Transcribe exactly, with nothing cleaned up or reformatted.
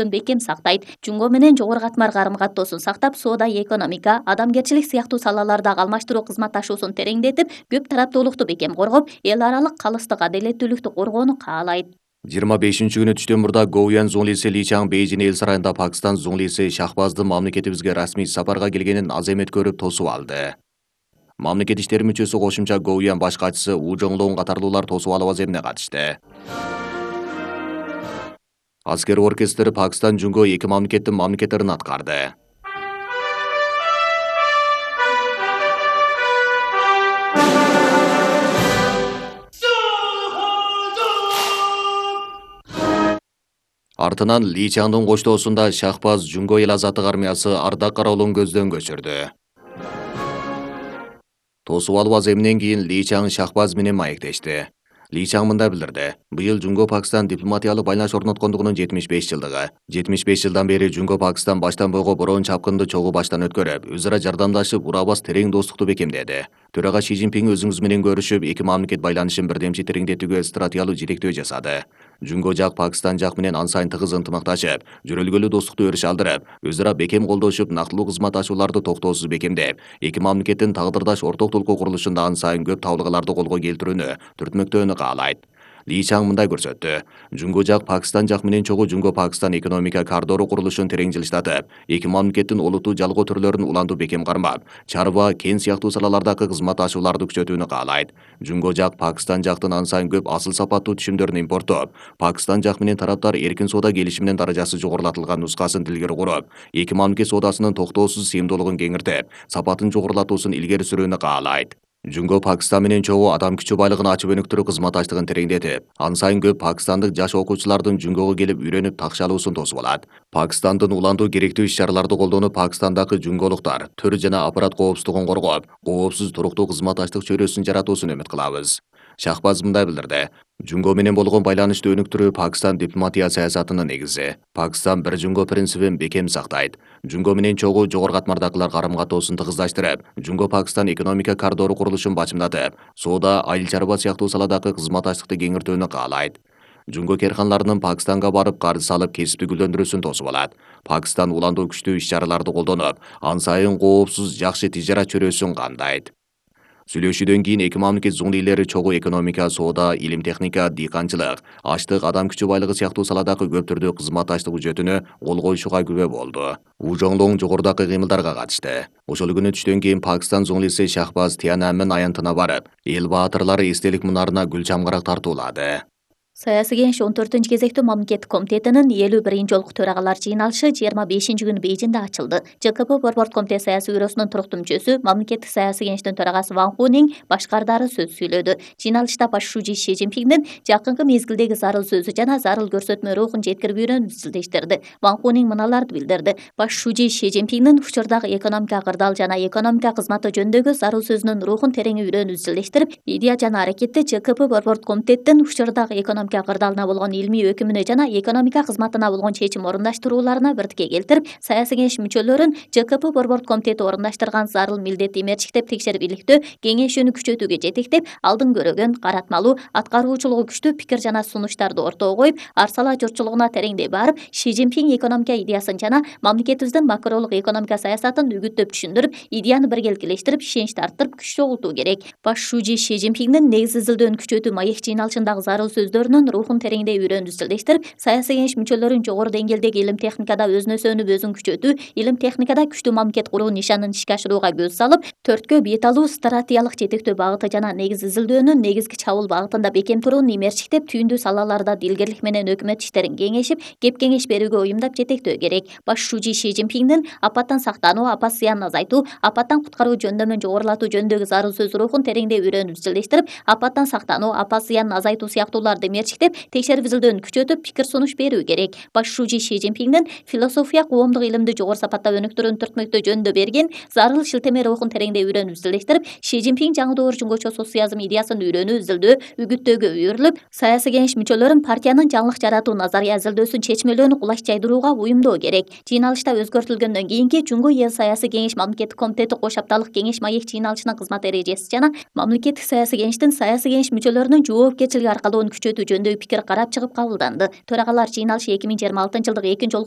бекем сактайт. Жунго менен жогору катмар карым-каттоосун сактап, соода, экономика, адамгерчилик сыяктуу салалардагы алмаштыруу кызматташуусун тереңдетип, көп тараптуулукту бекем коргоп, эл аралык калыстык, адилеттүүлүктү коргоону каалайт. жыйырма бешинчи күнү түштөн мурда Гоуян зунлиси Ли Чаң Бейжин эл сарайында Пакистан зунлиси Шахбаздын мамлекетибизге расмий сапарга келгенин аземет көрүп тосуп алды. Мамлекет иштери мүчөсү кошумча Гоуян баш катчысы У Жоңлоң катарлуулар тосуп алуу аземине катышты. Аскер оркестри Пакистан Жунго эки мамлекеттин мамлекеттерин аткарды. Артынан Ли Чаңдын коштоосунда Шахбаз Жунго эл азаттык армиясы ардак кароолун көздөн көчүрдү. Тосуп алуу аземинен кийин Ли Чаң Шахбаз менен маектешти. Ли Чаң мындай билдирди. Быйыл Жунго Пакистан дипломатиялык байланыш орноткондугунун жетимиш беш жылдыгы. жетимиш беш жылдан бери Жунго Пакистан баштан бойго бороон чапкынды чогуу баштан өткөрүп, өз ара жардамдашып, урабас терең достукту бекемдеди. Төрага Ши Цзиньпин өзүңүз менен көрүшүп, эки мамлекет байланышын бирдемчи тереңдетүүгө стратегиялык жетектөө жасады. Жунго жак Пакистан жак менен ан сайын тыгыз ынтымакташып, жөрөлгөлүү достукту өрүш алдырып, өз ара бекем колдошуп, нактылуу кызматташууларды токтоосуз бекемдеп, эки мамлекеттин тагдырдаш орток толкуу курулушунда ан сайын көп табылгаларды колго келтирүүнү, түртмөктөөнү каалайт. Ли Чаң мындай көрсөттү. Жунго жак Пакистан жак менен чогуу Жунго Пакистан экономика коридору курулушун терең жылыштатып, эки мамлекеттин олуттуу жалгоо түрлөрүн улантуу бекем кармап, чарба, кен сыяктуу салалардагы кызматташууларды күчөтүүнү каалайт. Жунго жак Пакистан жактын ан сайын көп асыл сапаттуу түшүмдөрүн импорттоп, Пакистан жак менен тараптар эркин соода келишиминин даражасы жогорулатылган нускасын тилгери куруп, эки мамлекет соодасынын токтоосуз сыйымдуулугун кеңиртип, сапатын жогорулатуусун илгери сүрүүнү каалайт. Жунго Пакистан менен чогуу адам күчү байлыгын ачып өнүктүрүү кызматташтыгын тереңдетип, ан сайын көп пакистандык жаш окуучулардын Жунгого келип үйрөнүп такшалуусун тосуп алат. Пакистандын улантуу керектүү иш-чараларды колдонуп, Пакистандагы жунголуктар төр жана аппарат коопсуздугун коргоп, коопсуз туруктуу кызматташтык чөйрөсүн жаратуусун үмүт кылабыз. Шахбаз мындай билдирди. Жунго менен болгон байланышты өнүктүрүү Пакистан дипломатия саясатынын негизи. Пакистан бир Жунго принцибин бекем сактайт. Жунго менен чогуу жогору катмардагылар карым-каттоосун тыгыздаштырып, Жунго Пакистан экономика коридору курулушун бачымдатып, соода, айыл чарба сыяктуу саладагы кызматташтыкты кеңиртүүнү каалайт. Жунго керканларынын Пакистанга барып карыз салып кесипти гүлдөндүрүүсүн тосуп алат. Пакистан улантуу күчтүү иш-чараларды колдонуп, ан сайын коопсуз жакшы тижарат чөйрөсүн кандайт. Сүйлөшүүдөн кийин эки мамлекет зуңлийлери чогуу экономика, соода, илим техника, дыйканчылык, аштык, адам күчү байлыгы сыяктуу саладагы көп түрдүү кызматташтык үчөтүнө кол коюшууга күбө болду. У Жоңлоң жогорудагы кыймылдарга катышты. Ошол күнү түштөн кийин Пакистан зуңлиси Шахбаз Тиананмын аянтына барып, эл баатырлары эстелик мунарына гүл чамгарак тартуулады. Саясий кеңеш он төртүнчү кезектүү мамлекеттик комитетинин элүү биринчи жолку төрагалар жыйналышы жыйырма бешинчи күнү Бейжиңде ачылды. ЖКП Борбордук комитет саясий бюросунун туруктуу мүчөсү, мамлекеттик саясий кеңештин төрагасы Ван Хунин башкардары сөз сүйлөдү. Жыйналышта баш шужи Ши Цзиньпиндин жакынкы мезгилдеги зарыл сөзү жана зарыл көрсөтмө рухун жеткирүүнү изилдештирди. Ван Хунин мыналарды билдирди. Баш шужи Ши Цзиньпиндин учурдагы экономика кырдаал жана экономика кызматы жөнүндөгү зарыл сөзүнүн рухун терең үйрөнүүнү изилдештирип, идея жана аракетти ЖКП Борбордук комитеттин учурдагы экономика кырдаалына болгон илмий өкүмүнө жана экономика кызматына болгон чечим орундаштырууларына бирдикке келтирип, саясий кеңеш мүчөлөрүн ЖКП Борбордук комитети орундаштырган зарыл милдетти мерчиктеп текшерип иликтөө, кеңейүүнү күчөтүүгө жетектеп, алдын көрөгөн, каратмалуу, аткаруучулугу күчтүү пикир жана сунуштарды ортого коюп, ар сала журтчулугуна тереңдей барып, Ши Цзиньпин экономика идеясын жана мамлекетибиздин макролук экономика саясатын үгүттөп түшүндүрүп, идеяны биргеликелештирип, ишеничти арттырып, күч чогултуу керек. Баш шужи Ши Цзиньпиндин негиз изилдөөнү күчөтүү маек жыйналышындагы зарыл сөздөрүнүн рухун тереңдей үйрөнүүнү изилдештирип, саясий кеңеш мүчөлөрүн жогору деңгээлдеги илим техникада өзүнө өзүн күчөтүү, илим техникада күчтүү мамлекет куруу нишанын ишке ашырууга көз салып, төрткө бет алуу, стратегиялык жетектөө багыты жана негиз изилдөөнүн негизги чабуул багытында бекем турууну имерчиктеп, түйүндүү салаларда дилгерлик менен өкмөт иштерин кеңешип, кеп кеңеш берүүгө уюмдап жетектөө керек. Баш шужи Ши Цзиньпиндин апаттан сактануу, апат зыянын азайтуу, апаттан куткаруу жөндөмүн жогорулатуу жөнүндөгү зарыл сөз рухун тереңдей үйрөнүүнү изилдештирип, апаттан сактануу, апат зыянын азайтуу сыяктууларды имерчиктеп, текшерип изилдөөнү күчөтүп, пикир сунуш берүү керек. Баш шужи Ши Цзиньпиндин философия, коомдук илимди жогору сапаттап өнүктүрүүнү түртмөктөө жөнүндө берген зарыл шилтеме рухун тереңдей үйрөнүүнү изилдештирип, Ши Цзиньпин жаңы доор жунгочо социализм идеясын үйрөнүү, изилдөө, үгүттөөгө үйрүлүп, саясий кеңеш мүчөлөрүн партиянын жаңылык жаратуу назария изилдөөсүн чечмелөөнү кулач жайдырууга уюмдоо керек. Жыйналышта өзгөртүлгөндөн кийинки Жунго эл саясий кеңеш мамлекеттик комитети кош апталык кеңеш маек жыйналышынын кызмат эрежеси жана мамлекеттик саясий кеңештин саясий кеңеш мүчөлөрүнүн жоопкерчилиги аркалоонун күчөтүү жөнүндө пикир карап чыгып кабылданды. Төрагалар жыйналышы эки миң жыйырма алтынчы жылдык экинчи